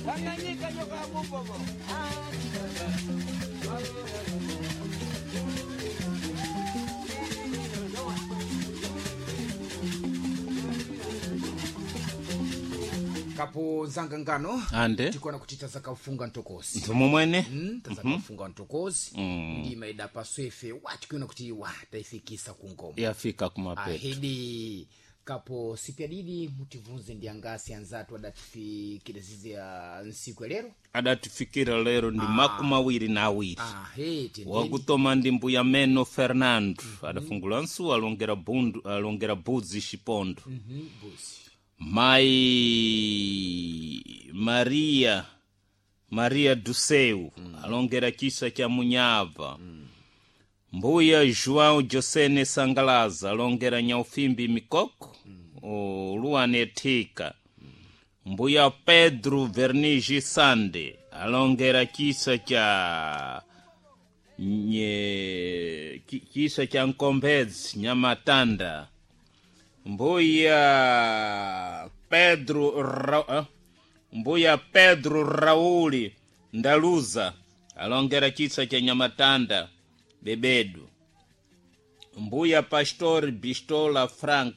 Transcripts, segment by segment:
Tanganyika nyoka mubobo. Kapo zangangano Ande. tikona kuti tazakafunga ntokosi. Nthumu mwene. Tazakafunga ntokosi. Ndima idapa swefe watikiona kuti wa taifikisa kungoma. Yafika kumapeto. Ahidi kapo sipyadidi mutivunze ndi angasi anzatu adatifikira zizi ya nsiku ya lero. Adatifikira lero ndi 22. Ahe tendeni. Wakutoma ndi mbuya meno Fernando. Adafungula nsuwa alongera bundu alongera budzi xipondo. Buzi. Mai Maria Maria Duseu alongera chisa cha Munyava. Mbuya João Josene Sangalaza alongera Nyaufimbi Mikoko. Luane Thika. Mbuya Pedro Vernigi Sande alongera chisa cha chisa cha Nkombedzi Nyamatanda. Mbuya Pedro Mbuya Pedro Rauli Ndaluza alongera chisa cha Nyamatanda Bebedu. Mbuya Pastor Bistola Frank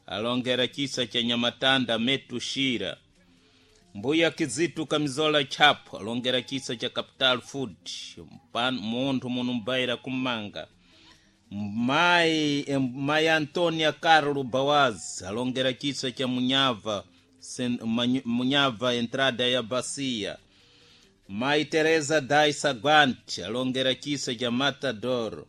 alongera chisa cha Nyamatanda Metushira. Mbuya Kizitu Kamizola Chapo alongera chisa cha Capital Food munthu munumbaira kumanga. Mai Antonia Carlo Bawaz alongera chisa cha Munyava Munyava entrada ya Bacia. Mai Teresa Daisa Guant alongera chisa cha Matador.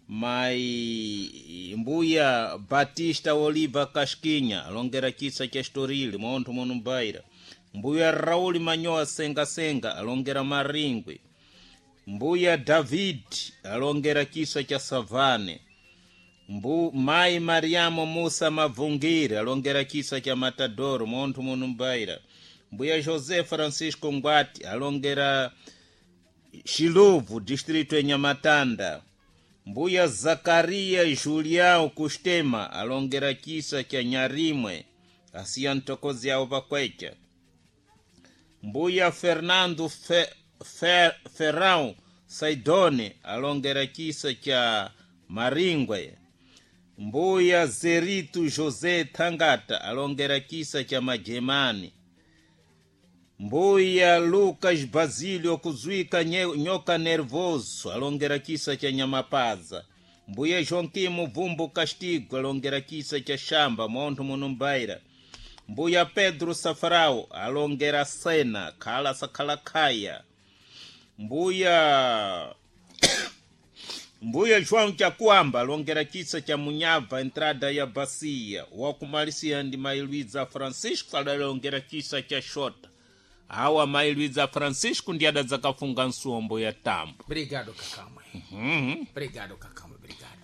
Mai Mbuya Batista Oliva Casquinha alongera chisa cha Estoril munthu munumbaira. Mbuya Rauli Manyoa Senga Senga alongera Maringwe. Mbuya David alongera chisa cha Savane. Mai Mariamo Musa Mavungire alongera chisa cha Matadoro munthu munumbaira. Mbuya José Francisco Ngwati alongera Xiluvu distrito ya Nyamatanda. Mbuya Zakaria Julião Kustema alongera chisa cha Nyarimwe asiya ntokozi yawo pakwecha. Mbuya Fernando Ferrão Saidone alongera chisa cha Maringwe. Mbuya Zerito José Thangata alongera chisa cha Majemani. Mbuya Lucas Basílio kuzwika nyoka nervoso alongera chisa cha Nyamapaza. Mbuya Joaquim Vumbo Castigo alongera chisa cha Shamba munthu munumbaira. Mbuya Pedro Safarao alongera Sena khala sakhala khaya. Mbuya João Chakuamba alongera chisa cha Munyava entrada ya Bacia. Wakumalisia ndi Mai Luiza Francisco adalongera chisa cha Shota. Awa Mai Luiza Francisco ndi adadzakafunga nsombo ya tambo. Obrigado kakamwe. Obrigado kakamwe, obrigado.